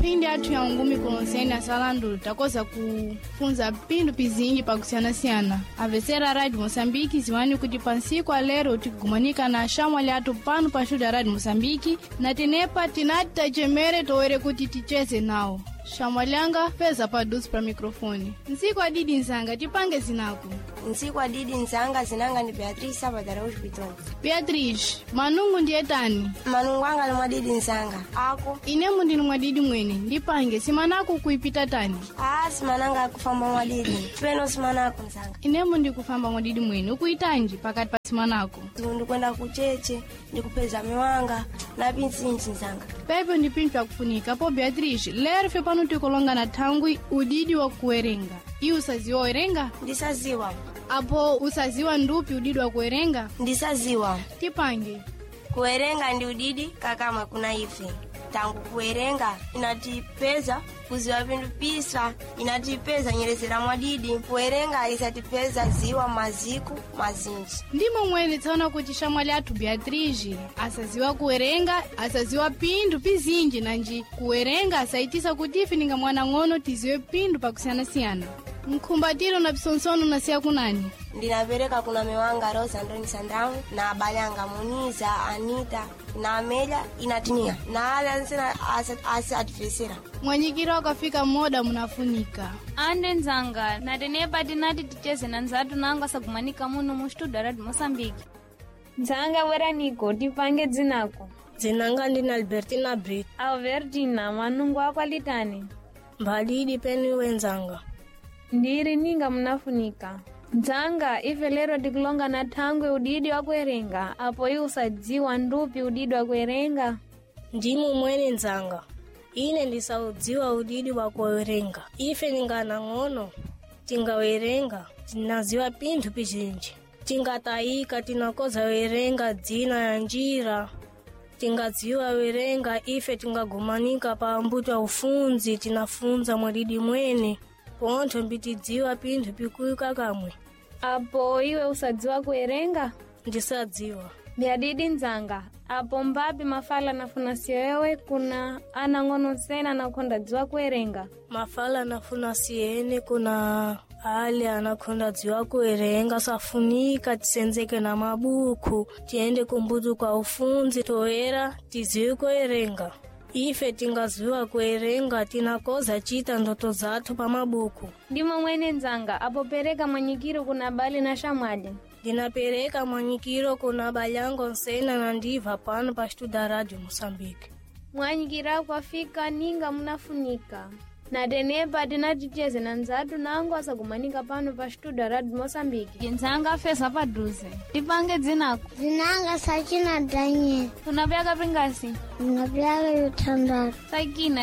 Phindi athu ya ungumi kulonseni asalandu takoza kufunza phindu pizinji pakusiyanasiyana. Avesera Radio Moçambique ziwani kuti pansiku alero tikugumanika na axamwali athu pano pa studio ya Radio Moçambique na tenepa tinati tachemere toere kuti ticheze nawo. Xamwali anga feza paduso pa microfone. Ntsiku adidi nzanga tipange zinako. Ntsiku adidi nzanga zinanga ndi Beatrice Sabadara Hospital. Beatrice, manungu ndiye tani? Manungu anga ni mwadidi nzanga. Ako. Inemu ndinu mwadidi mwene, ndipange simanako kuipita tani. Ah, simananga akufamba mwadidi. Peno simanako nzanga. Inemu ndikufamba mwadidi mwene, ukuitanji pakati pa simanako. Ndikwenda kucheche, ndikupeza miwanga na pintsinji nzanga. Pepe ndi pinthu akufunika po Beatrice, lero fe pano tikulonga na thangwi udidi wa kuwerenga. Iwe usaziwa werenga? Ndisaziwa. Apo usaziwa ndupi udidi wa kuwerenga? Ndisaziwa. Tipange. Kuwerenga ndi udidi kakama kuna ife. Tangu kuwerenga inatipeza kuziwa pinthu pisa, inatipeza nyerezera mwadidi. Kuwerenga isatipeza ziwa maziku mazinji. Ndimo mwene tsaona kuti xamwali athu Beatrice asaziwa kuwerenga, asaziwa pinthu pizinji nanji kuwerenga asaitisa kuti ife ninga mwana ng'ono tiziwe pinthu pakusiyanasiyana. Mkhumbatiro na psonsono nasiya kunani? Ndinapereka kuna miwanga Rosa Antoni Sandamu na abale anga Muniza, Anita na Amelia inatinia na ala nsena asatifesera. Mwanyikiro akafika moda munafunika. Ande nzanga natenepa tinati ticheze na nzatu nango asagumanika muno mu studio Radio Moçambique. Nzanga bweraniko tipange dzinako. Dzinanga ndine Albertina Brit. Albertina manungu ako alitani. Mbalidi peni wenzanga. Ndiri ninga munafunika. Nzanga ife lero tikulonga na thangwe udidi wa kuwerenga apo iwe usadziwa ndupi udidi wa kuwerenga. Ndimu mwene nzanga. Ine ndisaudziwa udidi wa kuwerenga. Ife ninganang'ono tingawerenga tinaziwa pinthu pizinji. Tingatayika tinakoza werenga dzina ya njira. Tingadziwa werenga ife tingagumanika pa ambuto ya ufunzi tinafunza mwadidi mwene. Pontho mbitidziwa pinthu pikuyika kamwe. Apo iwe usadziwa kuwerenga? Ndisadziwa. Byadidi nzanga apo mbapi mafala nafuna siyowewe kuna anang'ono sena anakonda dziwa kuwerenga. Mafala anafuna siyene kuna ale anakonda dziwa kuwerenga safunika tisenzeke na mabuku tiende kumbutu kwa ufunzi toera tiziwe kuwerenga. Ife tingaziwa kuwerenga tinakoza chita ndoto zathu pa mabuku. Ndimo mwene nzanga apo pereka mwanyikiro kuna bali na shamwali. Ndinapereka mwanyikiro kuna balyango nsena na ndiva pano pa estuda Radio Moçambique. Mwanyikiro akwafika ninga munafunika. Natenepa tinaticheze na nzatu nango asagumanika pano pa studio Radio Moçambique. Nzanga feza paduze. Tipange dzinako. Zinanga Sakina Daniel. Unapyaka pingasi? Ndinavyaka vitandatu. Sakina.